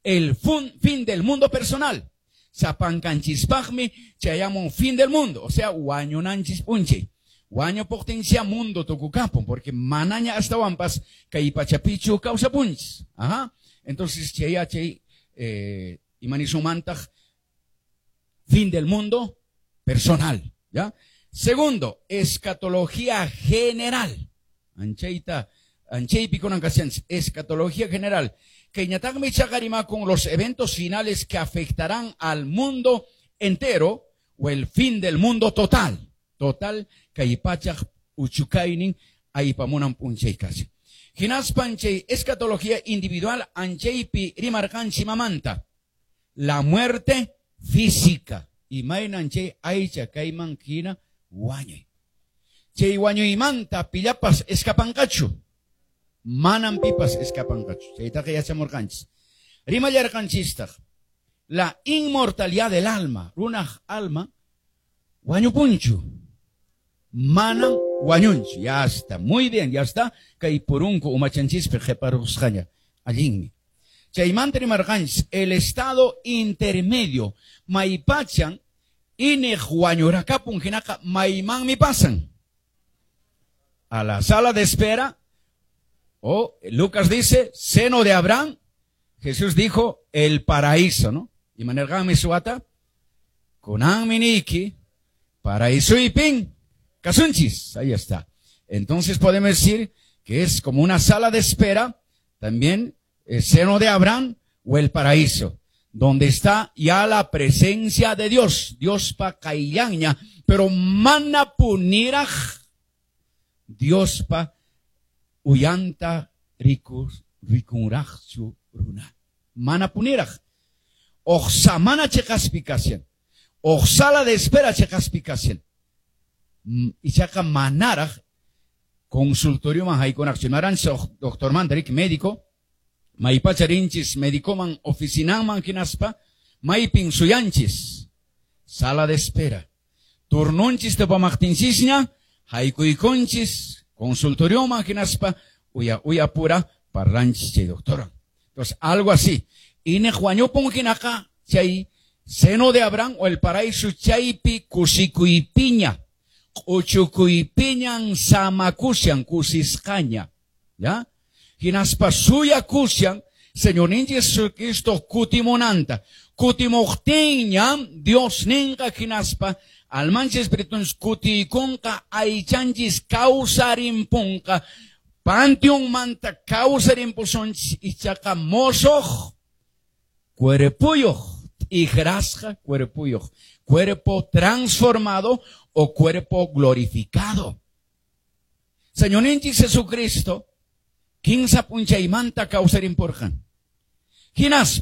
El fin del mundo personal. Sapankanchispaqmi chayamun fin del mundo. O sea, wañunanchis p'unchay. Wañupuqtincha mundo tukukapun, porque manaña astawanpas kay pachapichu kawsapunchis. Ajá. Entonces, chay chay imanisumantaq fin del mundo personal, ¿ya? Segundo, escatología general. Anchayta, anchaypi kunan kashanchis, escatología general. Kayñataqmi ichaqa con los eventos finales que afectarán al mundo entero o el fin del mundo total. Total, kay pachaq uchukaynin aypamunan p'unchay kashan. Hinaspan chay escatología individual anchaypi rimarqanchik mamanta. La muerte física. Imaynan chay aycha kayman hina wañuy. Chay wañuymanta pillapas escapanqachu. Manam pipas escapanqachu. Chaytaqa yachamurqanchis. Rimallarqanchistaq. La inmortalidad del alma. Runaq alma wañupunchu. Manam wañunchu. Ya está. Muy bien, ya está. Kay purunku umachanchispi qhiparusqaña. Allinmi. Chaymanta rimarqanchis el estado intermedio. Maypachan iñiq wañurakapun hinaqa maymanmi pasan. A la sala de espera, o Lucas dice, seno de Abraham, Jesús dijo, el paraíso, ¿no? Imanirqanmi suwata, kunanmi niyki, paraísoypin, kasunchis, ahí está. Entonces podemos decir que es como una sala de espera, también el seno de Abraham o el paraíso, donde está ya la presencia de Dios, Diospa qayllanña, pero manapuniraq Diospa uyanta rikus rikunraqchu runa. Manapuniraq. Huk samana cheqaspi kashan. Huk sala de espera cheqaspi kashan. Ichaqa manaraq consultorioman haykunaqchu. Imaranchis doctormanta riki médico, maypacha rinchis médicoman oficinanman hinaspa, maypin suyanchis. Sala de espera. Turnunchis tupamaqtinchisña, haykuykunchis consultorioman hinaspa, uya uya pura parlanchis chay doctora. Entonces, algo así. Iñiq wañupun hinaqa chay seno de Abraham o el paraíso chaypi kusikuypiña, q'uchukuypiñan samakushan kusisqaña, ¿ya? Hinaspa suyakushan Señorninchik Jesucristo kutimunanta. Kutimuqtinña Dios ninqa hinaspa almanchis espiritunchis kutiykunqa aychanchis kawsarimpunqa panteonmanta kawsarimpusunchis ichaqa mosoq cuerpuyuq t'ikrasqa cuerpuyuq, cuerpo transformado o cuerpo glorificado. Señorninchik Jesucristo kinsa p'unchaymanta kawsarimpurqan. Hinaspa